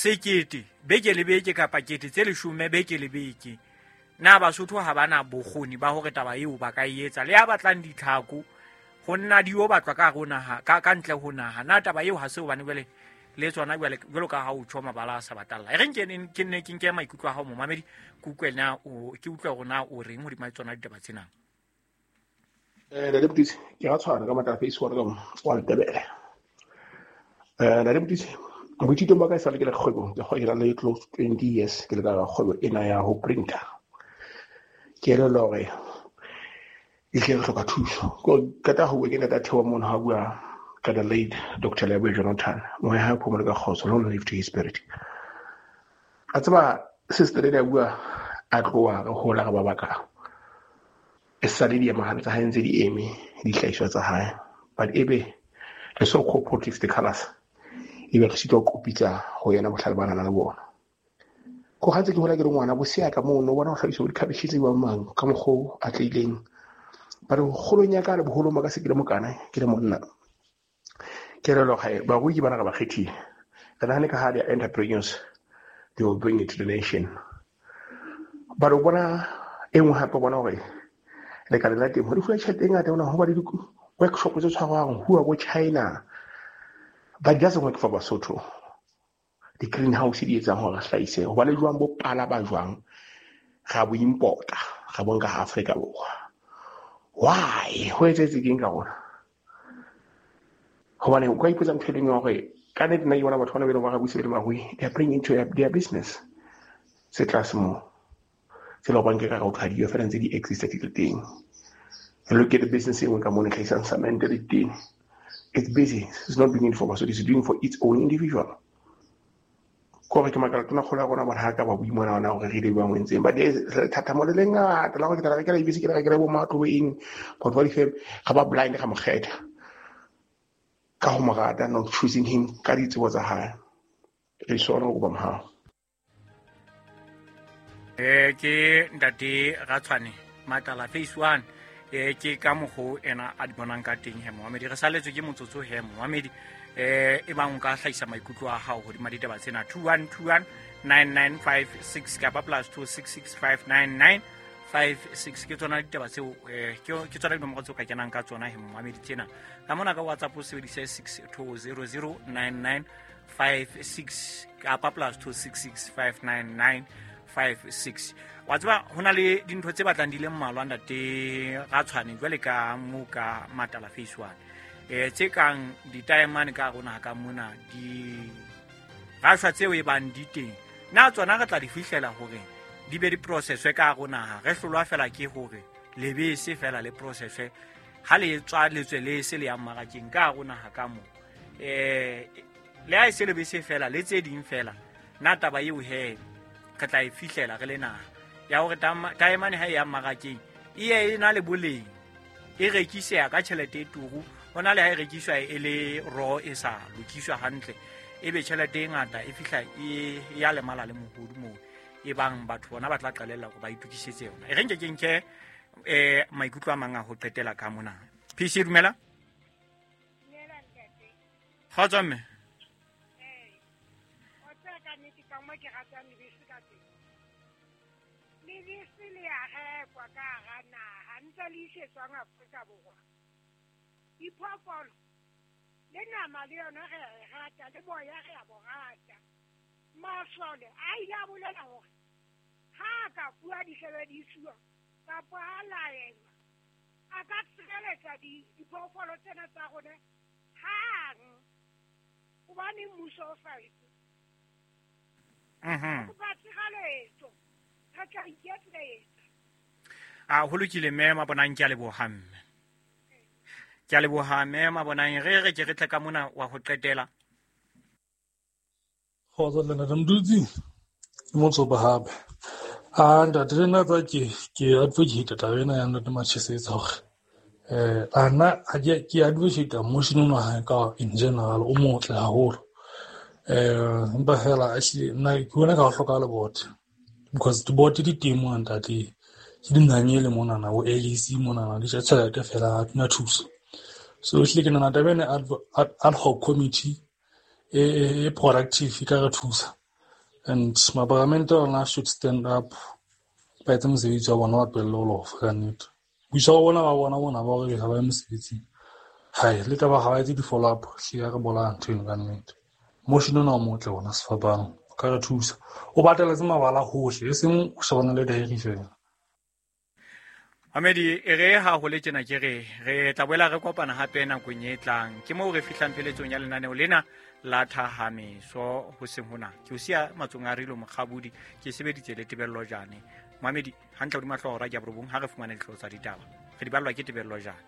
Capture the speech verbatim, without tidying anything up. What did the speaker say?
Sekete beke le beke kapa kete tse leshome beke le beke. Na Basotho ha bana bokgoni ba hore taba eo ba ka e etsa le ya batlang ditlhako ho nna di yo batlwa ka hare naha ka ka ntle ho naha. Na taba eo ha se hobane jwale le tsona jwale jwalo ka ha o tjho mabala a sa batalla. E reng ke ke nne ke nke maikutlo a hao momamedi, ke utlwe na o ke utlwe hore na o reng hodima tsona ditaba tsena. Eh Ntate Motisi, ke ra tshwana ka matla face one ka wa Letebele. Eh Ntate Motisi, boithutong ba ka esale ke le kgwebong, ke kgwebo le close to twenty years ke le ka kgwebo ena ya ho printer. Ke elellwa hore ehlile re hloka thuso. Ko qeta ho bua ke ntate Theo mono ha bua ka the late Doctor Leboe Jonathan. Moya ha phomolo ka kgotso, long live to his spirit. A tseba sister ena bua a tloha re hola re ba baka. E sale di ema hantle ha ntse di eme dihlahiswa tsa hae. But ebe re so cooperative the colors. Ebe re sitwa ho kopitsa ho yena bohlale ba nang le bona. Ko ha ntse ke hola ke le ngwana bosea ka mono bona ho hlahiswa dikhabetjhe tse bang mang ka mokgo a tleileng. But kgolong ya ka le boholong ba ka se ke le mokana ke le monna. Ke re loga barui ke bana ga ba kgethile. Re nahane ka ha they are entrepreneurs, they will bring it to the nation. But o bona e nngwe hape bona hore lekaleng la temo di fuwa tjhelete e ngata hona ho ba le di-workshop tse tshwarwang ho bo China. But it doesn't work for Basotho. Di-greenhouse di etsang hore re hlahise ho ba le jwang bo pala ba jwang ra bo importa ra bo nka ha Afrika Borwa. Why? Ho etsahetse keng ka rona? Hobane o ka ipotsa ntho e leng hore ka nnete nna ke bona batho bana be leng ba re buise le marui, they are bringing into their, their business se tlase moo. Se le hobane ke ka re ho thadiwa fela ntse di exist di le teng. Look at the business e nngwe ka mona e hlahisang cement le teng. It's busy. It's not doing it for Basotho, it's doing for its own individual. Ko re ke makala tona kgolo ya rona bona ha ka ba boimona ona hore re ile ba entseng. But there's thathamo le lengata la hore ke tla rekela dibese, ke tla rekela bo matlo bo eng. But what if ga ba blind ga mo kgetha ka ho mo rata, not choosing him ka ditsebo tsa hae. Re sona ho ba mohau. Eh ke ntate Ratshwane Matala phase one. Eh ke ka mokgo ena a di bonang ka teng he momamedi. Re saletswe ke motsotso he momamedi. Eh e bang o ka hlahisa maikutlo a hao hodima ditaba tsena two one two one nine nine five six kapa plus two six six five nine nine five six. Ke tsona ditaba tseo eh ke ke tsona dinomoro tseo ka kenang ka tsona he momamedi tsena. Ka mona ka WhatsApp o sebedise six two zero zero nine nine five six kapa plus two six six five nine nine five six. Wa tseba hona le dintho tse batlang di le mmalwa ntate Ratshwane jwale ka mo ka Matala phase one. Eh tse kang ditaemane ka rona ka mona di rashwa tseo e bang di teng. Na tsona re tla di fihlela hore di be di processwe ka rona ha re hlolwa fela ke hore lebese fela le processwe ha le tswa letswe le se le ya mmarakeng ka rona ha ka mo. Eh le ha e se lebese fela le tse ding fela na taba eo he re tla e fihlela re le naha ya hore taemane ha e ya mmarakeng e ye e na le boleng e rekiseha ka tjhelete e turu hona le ha e rekiswa e le raw e sa lokiswa hantle ebe tjhelete e ngata e fihla e ya lemala le mohodu moo e bang batho bona ba tla qalella hore ba itukisetse yona. E re nke ke nke eh maikutlo a mang a ho qetela ka mona. P C dumela. Dumela ntate. Kgotso mme. Eh. O tsaya ka nnete ka mo ke ratang lebese ka teng. Lebese le a rekwa ka hara naha ntse le isetswang Afrika Borwa. Diphoofolo le nama le yona re a e rata le boya re a bo rata. Masole a ile a bolela hore ha a ka fuwa disebedisuwa kapa a laelwa a ka tshireletsa diphoofolo tsena tsa rona hang hobane mmuso o sa etse. Mhm. Kopa tshireletso re tla iketsetsa. A ho lokile mme Mabonang, ke a leboha mme. Ke a leboha mme Mabonang. Re re ke re tle ka mona wa ho qetela. Kgotso le ntate Mdutsi, ke Motsopa hape. Ah ntate le nna tsa ke ke advocate taba ena ya ntate Machesetsa hore eh ana ha ke ke advocate motion ona ha ka in general o motle haholo. Eh empa fela ehlile nna ke bona ka ho hloka le board because di board di teng mona ntate. Ke dinanyele monana bo L E C monana di ja tjhelete fela ha di na thuso. So ehlile ke nahana taba ena ad, ad hoc committee e, e productive e ka re thusa. And maparamente ona should stand up, ba etse mosebetsi wa bona, ba tlohelle ho lofa ka nnete. Boitshwaro bona ba bona bona ba hore ha ba ye mosebetsing, hai le taba ha ba etse di-follow up, hlile re bolaya ntho eno ka nnete. Motion ona o motle ona sefapano, o ka re thusa. O bateletse mabala hohle, e seng o shebana le diary fela. Mamedi, e re ha ho le tjena ke re re tla boela re kopana hape nakong e tlang. Ke moo re fihlang pheletsong ya lenaneo lena la Thahameso hoseng hona. Ke o siya matsong a Rilo Mokgabudi, ke sebeditse le Tebello Jane. Mamedi, hantle hodima hlooho hora ya borobong ha re fumane dihlooho tsa ditaba. Re di ballwa ke Tebello Jane.